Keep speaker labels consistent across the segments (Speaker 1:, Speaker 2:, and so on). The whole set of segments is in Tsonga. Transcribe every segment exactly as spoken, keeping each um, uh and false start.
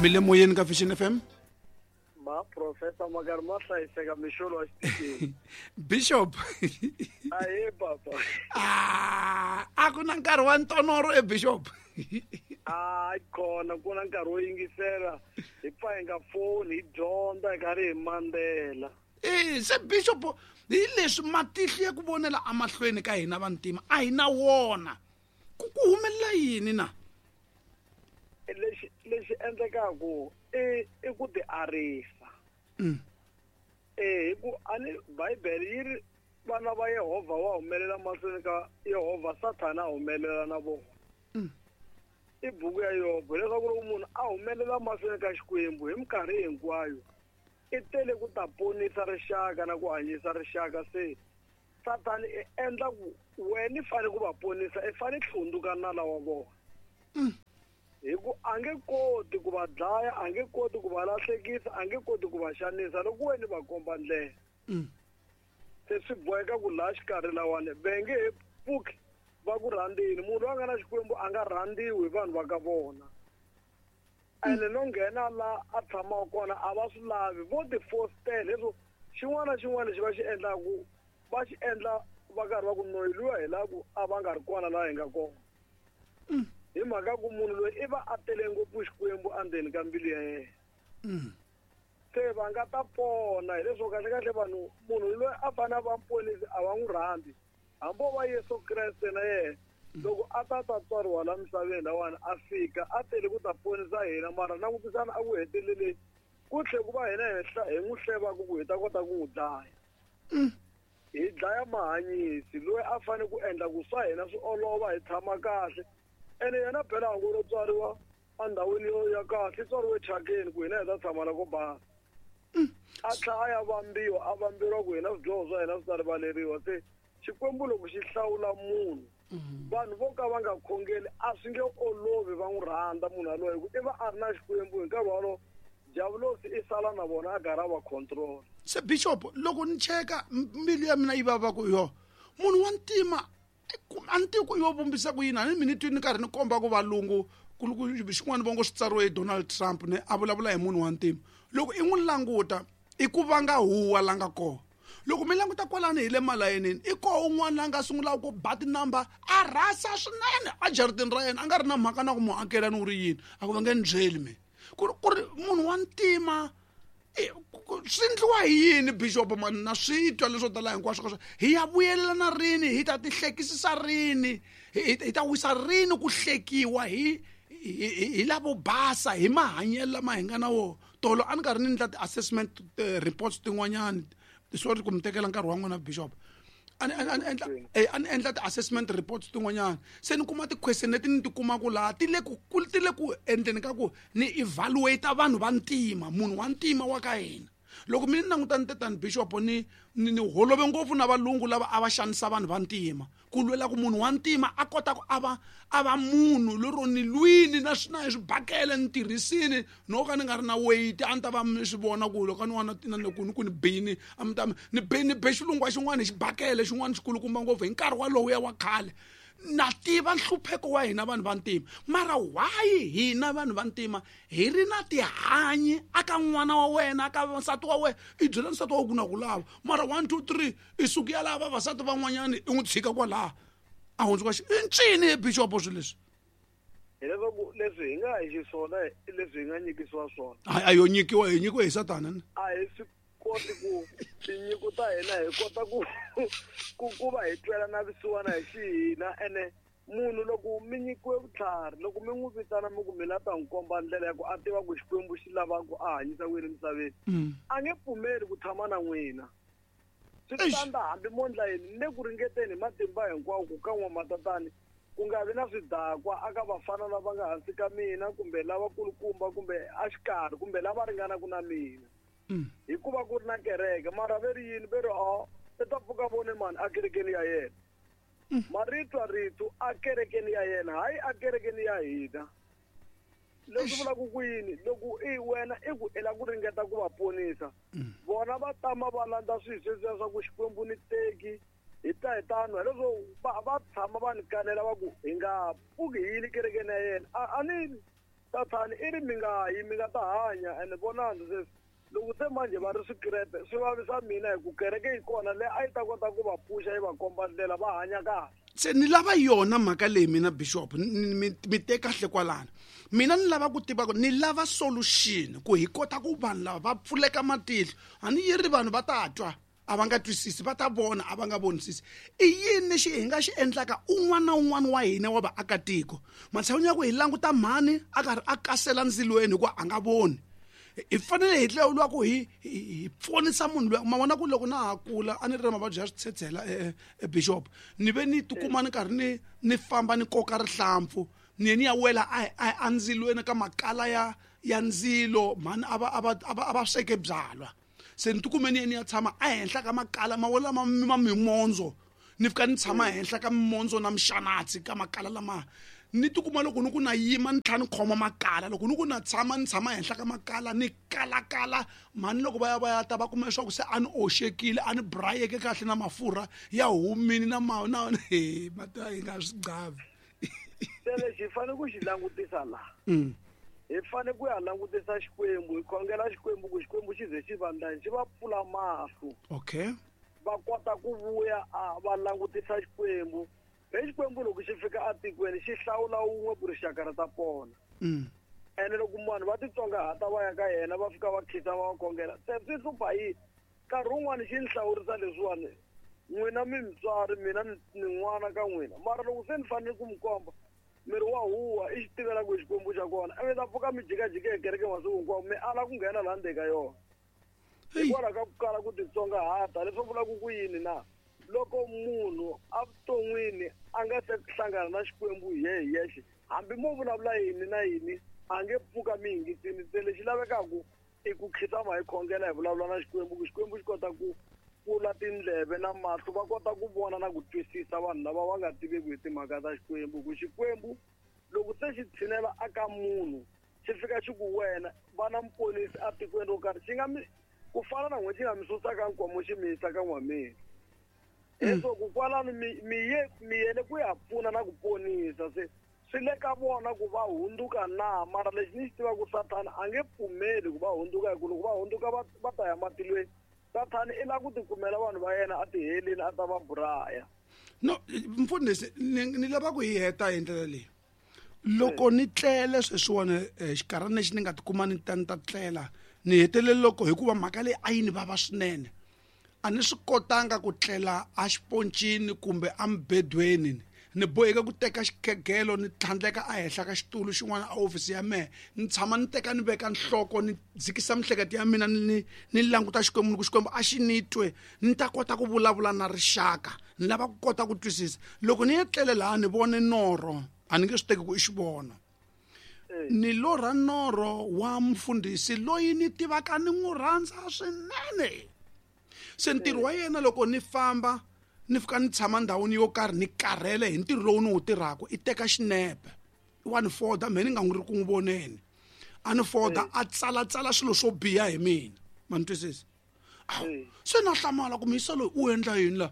Speaker 1: Mi le moyeni ka Vision F M.
Speaker 2: Ma professor Magar ma hlayiseka mixolo wa xitini.
Speaker 1: Bishop.
Speaker 2: Ahe papa.
Speaker 1: Ah, a ku na nkarhi wa ntonoro e Bishop.
Speaker 2: Ah, kona ku na nkarhi wo yingisela hi pfa hi nga foni hi dyondza hi karhi hi mandzela.
Speaker 1: Eh, se Bishop hi leswi matihlo ya ku vonela amahlweni ka hina vantima a hi na wona. Ku ku humelela yini na?
Speaker 2: Lexi lexi endlekaku i i ku ti arisa.
Speaker 1: Mm.
Speaker 2: Eh, hi ku ani Bibele yi ri vana va Yehovha wa humelela mahlweni ka Yehovha, Sathana a humelela na vona.
Speaker 1: Mm.
Speaker 2: I buku ya Yobo leswaku loko munhu a humelela mahlweni ka Xikwembu hi minkarhi hinkwayo i tele ku ta ponisa rixaka na ku hanyisa rixaka. Se Sathana i endla ku wena i fanele ku va ponisa, i fanele hlundzuka nala wa vona.
Speaker 1: Mm.
Speaker 2: Hi ku a nge koti ku va dlaya, a nge koti ku va lahlekisa, a nge koti ku va xanisa loko wena va komba ndlela.
Speaker 1: Mm.
Speaker 2: Se swi boheka ku laha xikarhi lawani va nge he pfuki va ku rhandzini. Munhu loyi a nga na Xikwembu a nga rhandziwi hi vanhu va ka vona. Ene no nghena la a tshamaka kona a va swi lavi, vo ti fostela leswo xin'wana na xin'wana lexi va xi endlaku va xi endla va karhi va ku noyi luya hi laha ku a va nga ri kona laha hi nga kona.
Speaker 1: Mm.
Speaker 2: Hi mhaka ku munhu loyi i va a tele ngopfu Xikwembu endzeni ka mbilu ya yena.
Speaker 1: Mm.
Speaker 2: Se va nga ta pona hileswo kahle kahle vanhu munhu loyi a fanele a va muponisi a va n'wi rhandzi. Hambi o va Yesu Kreste na yena loko a ta ta tswariwa la misaveni lawani a fika a tele ku ta ponisa hina, mara langutisana a ku heteleleni ku tlhe ku va hina henhla hi n'wi hlevaka ku hi ta kota ku n'wi dlaya.
Speaker 1: Mm.
Speaker 2: Hi dlaya mahanyisi loyi a fanele ku endla ku swa hina swi olova hi tshama kahle. Ene yena phela hangu ro tswariwa endhawini yo ya kahle, i tswariwe thyakeni ku hina hi ta tshama la ko basa. A tlhela a ya vambiwa, a vamberiwa ku hina swidyoho swa hina swi ta rivaleriwa. Se Xikwembu loko xi hlawula munhu, vanhu vo ka va nga khongeli a swi nge olovi va n'wi rhandza munhu yaloye, hi ku i va a ri na Xikwembu hi nkarhi wolowo diavulosi i sala na vona a karhi a va control.
Speaker 1: Se Bishop, loko ni cheka mbilu ya mina yi vava ku yo munhu wa ntima a ni tivi ku yo vumbisa ku yini, a ni mina ni twi ni karhi ni komba ku valungu ku xin'wana vongo swi tsariwe hi Donald Trump ne a vulavula hi munhu wa ntima. Loko i n'wi languta i ku vanga huwa la nga kona. Loko mi languta kwalani hi le malayinini i koho un'wana la nga sungulaka ku ba tinamba a rhasa swinene a jaratini ra yena, a nga ri na mhaka na ku muakelani u ri yini, a ku va nge ni byeli mina ku ri ku ri munhu wa ntima swi endliwa hi yini Bishop mani na swi twa leswo tala hinkwaswo ka swona. Hi ya vuyelelana rini, hi ta ti hlekisisa rini, hi ta wisa rini ku hlekiwa hi hi lavo basa hi mahanyelo lama hi nga na wona. Tolo a ni karhi ni endla ti-assessment reports tin'wanyani, sorry ku mi tekela nkarhi wa n'wina Bishop, a ni a ni endla a ni endla ti-assessment reports tin'wanyana, se ni kuma ti-question leti ni ti kumaka laha ti le ku ti le ku endleni ka ku ni evaluate vanhu va ntima, munhu wa ntima wa ka hina. Loko mi ni languta ni tetani Bishop ni ni ni holove ngopfu na valungu lava a va xanisa vanhu va ntima ku lwela ku munhu wa ntima a kota ku a va a va munhu lero ni lwini na swi na hi swibakele ni tirhisini no ka ni nga ri na weight a ni ta va mi swi vona ku loko ni wana na ni ku ni ku ni bini a mi ta ni be ni be xilungu wa xin'wana hi xibakele xin'wana xikulukumba ngopfu hi nkarhi walowu ya wa khale. Na tiva nhlupheko wa hina vanhu va ntima, mara why hina vanhu va ntima hi ri na tihanyi aka n'wana wa wena aka nsati wa wena i byela nsati wa ku na ku lava mara one two three i suku ya lava vavasati van'wanyani i n'wi tshika kwalaha a hundzuka xi i ncini he Bishop swilo leswi?
Speaker 2: Hileswaku leswi hi nga hi xiswona leswi hi nga nyikisiwa swona
Speaker 1: a yo nyikiwa hi nyikiwe hi Satana ni
Speaker 2: a hi swi koti ku tinyiko ta hina hi kota ku ku ku va hi twela na vusiwana hi xihina. Ene munhu loko mi nyikiwe vutlhari, loko mi n'wi vitana mi ku mi la ta n'wi komba ndlela ya ku a tiva ku Xikwembu xi lava ku a hanyisa ku yini emisaveni, a nge pfumeli ku tshama na n'wina. Swi tanda hambi mo ndla yini, ni le ku ringeteni hi matimba hinkwawo ku ka n'wamatatani ku nga vi na swidakwa aka vafana lava nga hansi ka mina kumbe lavakulukumba kumbe exikarhi kumbe lava ringanaka na mina. Hikuva ku ri na kereke mara ve ri yini ve ri a i ta pfuka vone mani a kerekeni ya yena. Marito rito a kerekeni ya yena hayi a kerekeni ya hina. Leswi vulaka ku yini loko i wena i ku i lava ku ringeta ku va ponisa vona va tama va landza swilo sweswiya swa ku Xikwembu ni teki hi ta hi tano hileswo va va tshama va ni kanela va ku hi nga pfuki hi yile kerekeni ya yena. A a ni Sathani i ri mi nga yi mi nga ta hanya ene vonani sweswi loko se manje va ri swikirepe swi vavisa mina hi ku kereke yi kona leyi a yi ta kota ku va pfuxa yi va komba ndlela va hanya kahle.
Speaker 1: Se ni lava yona mhaka leyi mina bishop mi mi te kahle kwalano. Mina ni lava ku tiva ku ni lava solution ku hi kota ku vanhu lava va pfuleka matihlo. A ni yi ri vanhu va ta twa a va nga twisisi, va ta vona a va nga vonisisi. I yini lexi hi nga xi endlaka un'wana na un'wana wa hina wa vaakatiko? Matshan'wini ya ku hi languta mhani a karhi a kasela ndzilweni hikuva a nga voni, hi fanele hi tlhela ku hi hi pfunisa munhu loyi. Ma vona ku loko na ha kula a ni ri na mavabyi ya switshetshela e bishop, ni ve ni tikuma ni karhi ni ni famba ni koka rihlampfu ni ye ni ya wela a a ndzilweni ka makala ya ya ndzilo. Mhani a va a va a va a va sweke byalwa, se ni tikume ni ye ni ya tshama ehenhla ka makala ma wela ma ma mimondzo, ni fika ni tshama ehenhla ka mimondzo na mixanatsi ka makala lama. Ni tikuma loko ni ku na yima ni tlhela ni khoma makala, loko ni ku na tshama ni tshama ehenhla ka makala ni kalakala. Mhani loko va ya va ya ta va kuma leswaku se a ni oxekile, a ni brayeke kahle na mafurha ya humini na ma na he mata yi nga swi qavi.
Speaker 2: Se lexi hi fanele ku xi langutisa laha, hi fanele ku ya langutisa Xikwembu, hi khongela Xikwembu ku Xikwembu xi ze xi vandlani xi va pfula mahlo.
Speaker 1: Okay,
Speaker 2: va kota ku vuya a va langutisa Xikwembu. Hi Xikwembu loko xi fika atikweni xi hlawula wun'we ku rixaka ra ta pona. Ene loko vanhu va titsongahata va ya ka yena va fika va khisa va va khongela, se swi hlupha yini? Nkarhi wun'wani xi ni hlawurisa leswiwani, n'wina mi mutswari, mina ni n'wana ka n'wina, mara loko se ni fanele ku mi komba miri wa huwa i xi tivela ku Xikwembu xa kona, ivi ta pfuka mi jikajika hi kereke masiku hinkwawo mi ala ku nghena laha ndzeni ka yona hikwalaho ka ku kala ku titsongahata. Leswi vulaka ku yini na? Loko munhu evuton'wini a nga se hlangana na Xikwembu hi yehe yexe, hambi mo vulavula yini na yini a nge pfuka mi yingisini. Se lexi lavekaka i ku khitama hi khongela hi vulavula na Xikwembu ku Xikwembu xi kota ku pfula tindleve na mahlo va kota ku vona na ku twisisa vanhu lava va nga tiveki hi timhaka ta Xikwembu. Ku Xikwembu loko se xi tshinela aka munhu xi fika xi ku wena va na muponisi atikweni ro karhi, xi nga mi ku fana na n'we xi nga mi susaka nkomo xi mi yisa ka n'wameni. Leswo ku kwalano mi mi ye mi yele ku ya pfuna na ku ponisa, se swi le ka vona ku va hundzuka na. Mara lexi ni xi tivaka ku Sathana a nge pfumeli ku va hundzuka, hi ku loko va hundzuka va va ta ya matilweni. Sathana i lava ku tikumela vanhu va yena a tiheleni a ta va buraya.
Speaker 1: No mfundhisi, ni ni lava ku hi heta hi ndlela leyi. Loko ni tlele sweswiwani xikarhana lexi ni nga tikuma ni ta ni ta tlela, ni hetelele loko hikuva mhaka leyi a yi ni vava swinene, a ni swi kotanga ku tlela a xiponcini kumbe emubedweni. Ni boheke ku teka xikhegelo ni tlhandleka ehenhla ka xitulu xin'wana a ofisi ya mehe, ni tshama ni teka ni veka nhloko ni dzikisa miehleketo ya mina ni ni languta Xikwembu, ni ku Xikwembu a xi ni twe ni ta kota ku vulavula na rixaka, ni lava ku kota ku twisisa. Loko ni ya tlele laha ni vone norho, a ni nge swi teki ku i xivono, ni lorha norho wa mfundhisi loyi ni tivaka ni n'wi rhandza swinene. Se ntirho wa yena loko ni famba ni fika ni tshama ndhawini yo karhi ni karhele hi ntirho lowu ni wu tirhaka, i teka xinepe wa ni foda, mehe ni nga n'wi ri ku n'wi voneni, a ni foda a tsalatsala swilo swo biha hi mina. Ma ni twisisa? Se na hlamala ku muyisa loyi u endla yini la?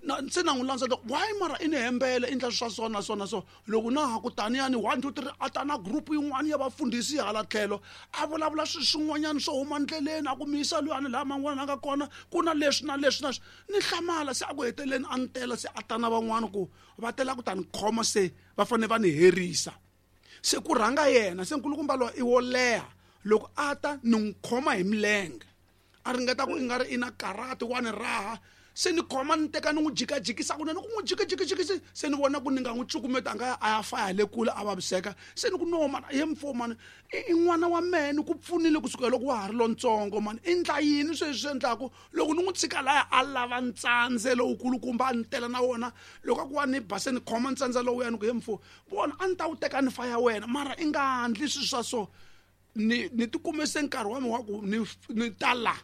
Speaker 1: Na se na n'wi landza why mara i ni hembele i endla swa so na so na so. Loko na ha ku taniyani one two three a ta na group yin'wana ya vafundhisi hala tlhelo a vulavula swilo swin'wanyana swo huma ndleleni, a ku muyisa luyani laha man'wana a nga kona ku na leswi na leswi na leswi. Ni hlamala se a ku heteleleni a ni tela se a ta na van'wana ku va tela ku ta ni khoma, se va fanele va ni herisa. Se ku rhanga yena, se nkulukumba loyi i wo leha, loko a ta ni n'wi khoma hi milenge a ringeta ku i nga ri i na karate wa ni raha, se ni khoma ni teka ni n'wi jikajikisa kunene ku n'wi jikajikajikisi, se ni vona ku ni nga n'wi cukumeta a nga ya a ya faya le kule a vaviseka. Se ni ku no mani ye mfo mani i n'wana wa mehe ni ku pfunile kusukela loko wa ha ri lontsongo mani, i ndla yini sweswi swi endlaku loko ni n'wi tshika laya a lava ntsandze lowukulukumba a ni tela na wona, loko a ku wa ni ba se ni khoma ntsandze lowuya ni ku ye mfo vona a ni ta wu teka ni faya wena mara i nga ndli swilo swa so. Ni ni tikume se nkarhi wa mina wa ku ni ni ta la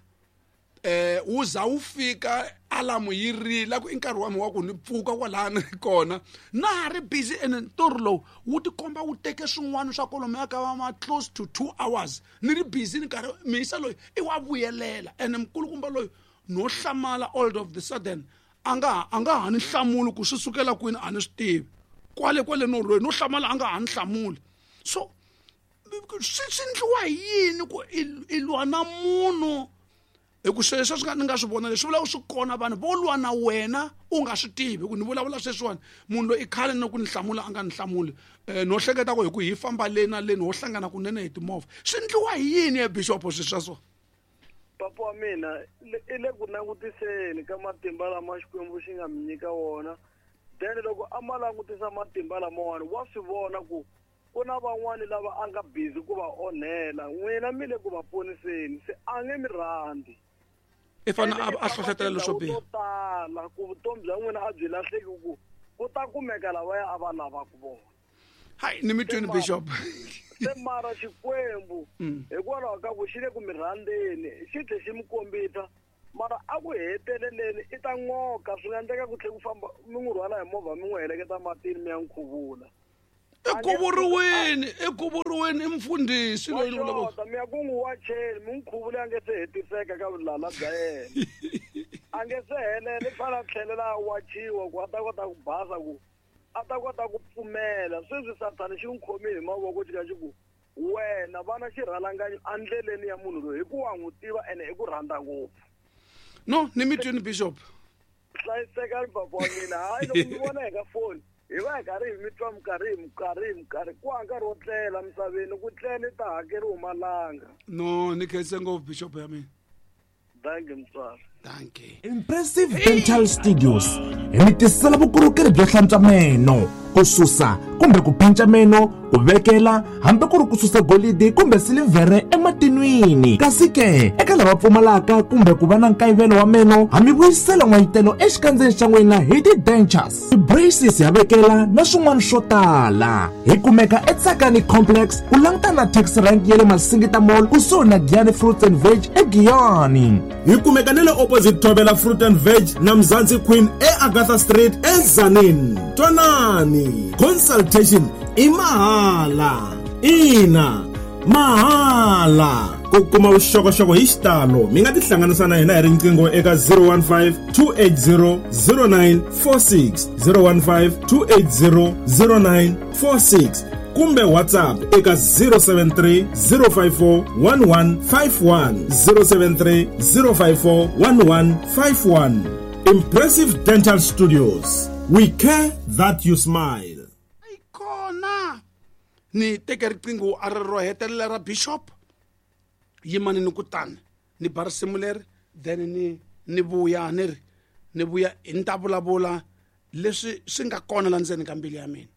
Speaker 1: eh wu za wu fika alamu yi rila ku i nkarhi wa mina wa ku ni pfuka kwalani ni kona na ha ri busy. Ene ntirho lowu wu tikomba wu teke swin'wana swa kwalomuya ka ma close to two hours ni ri busy ni karhi miyisa loyi i wa vuyelela. Ene mukulukumba loyi no hlamala all of the sudden a nga a nga ha ni hlamuli ku swi sukela kwini a ni swi tivi, kwale kwale no loyi no hlamala a nga ha ni hlamuli. So Swi swi endliwa hi yini ku i lwa na munhu hi ku sweswo swi nga ni nga swi vona leswi vulaka swi kona vanhu vo lwa na wena u nga swi tivi ku ni vulavula sweswiwani munhu loyi i khale na ku ni hlamula a nga ni hlamuli um no hleketa ku hi ku hi famba le na leni ho hlangana kunene hi timovha swi endliwa hi yini ya bixopo swi swa so
Speaker 2: papa wa mina i le ku langutiseni ka matimba lama Xikwembu xi nga mi nyika wona then loko a ma langutisa matimba lamawani wa swi vona ku ku na van'wani lava a nga busy ku va onhela n'wina mi le ku va poniseni se a nge mi rhandzi
Speaker 1: i fanele a hlohletela leswo biha
Speaker 2: tala ku vutomi bya n'wina a byi lahleki ku ku ta kumeka lavaya a va lavaka vona
Speaker 1: hayi ni mi twini bishop
Speaker 2: se mara Xikwembu hikwalaho ka ku xi le ku mi rhandzeni xi tlhe xi mi kombisa mara a ku heteleleni i ta n'oka swi nga endleka ku tlhe ku famba mi n'wi rhwala hi movha mi n'wi heleketa matini mi ya n'wi khuvula
Speaker 1: i khuvuriweni i khuvuriweni i mfundhisi loyi ni
Speaker 2: vulavula mi ya ku n'wi wacheni mi n'wi khuvula a nge se hetiseka ka vulala bya yena a nge se helela i fanele a tlhelela a wachiwa ku a ta kota ku basa ku a ta kota ku pfumela sweswi sathana xi n'wi khomile hi mavoko xi ka xi ku wena vana xirhalanganyi endleleni ya munhu loyi hi ku wa n'wi tiva ene i ku rhandza ngopfu
Speaker 1: no ni mi twini bishop
Speaker 2: hlayisekani papa wa mina hayi loko mi vona hi ka foni hi va hi karhi hi mi twa minkarhi hi minkarhi hi minkarhi ku ha nkarhi wo tlela misaveni ku tlela i ta hakeriwa malanga
Speaker 1: no ni khense ngopfu bishop ya mina
Speaker 2: thank you mutswari
Speaker 1: thank you
Speaker 3: Impressive Dental Studios hi mi tisela vukorhokeri byo hlantswa meno ku susa kumbe ku panca meno ku vekela hambi ku ri ku susa golidi kumbe silivhere ematinwini kasi ke eka lava pfumalaka kumbe ku va na nkayivelo wa meno ha mi vuyisela n'wayitelo exikandzeni xa n'wina hi ti-dentures ti-braces ya vekela na swin'wana swo tala hi kumeka eTsakani Complex ku langutana na taxi rank ya le Masingita Mall kusuhi na Giyani Fruits and Veg eGiyani
Speaker 4: hi kumeka ni le opposite Thobela Fruit and Veg na Mzansi Queen eAgatha Street eZanin twanani consultation i mahala ina mahala ku kuma vuxokoxoko hi xitalo mi nga tihlanganisa na hina hi riqingho eka zero one five two eight zero zero nine four six zero one five two eight zero zero nine four six kumbe WhatsApp eka zero seven three zero five four one one five one zero seven three zero five four one one five one Impressive Dental Studios we care that you smile
Speaker 1: kona ni teke riqingho a ri ro hetelela ra bishop yimani ni kutani ni ba risimu leri then ni ni vuya ni ri ni vuya ni ta vulavula leswi swi nga kona la ndzeni ka mbilu ya mina.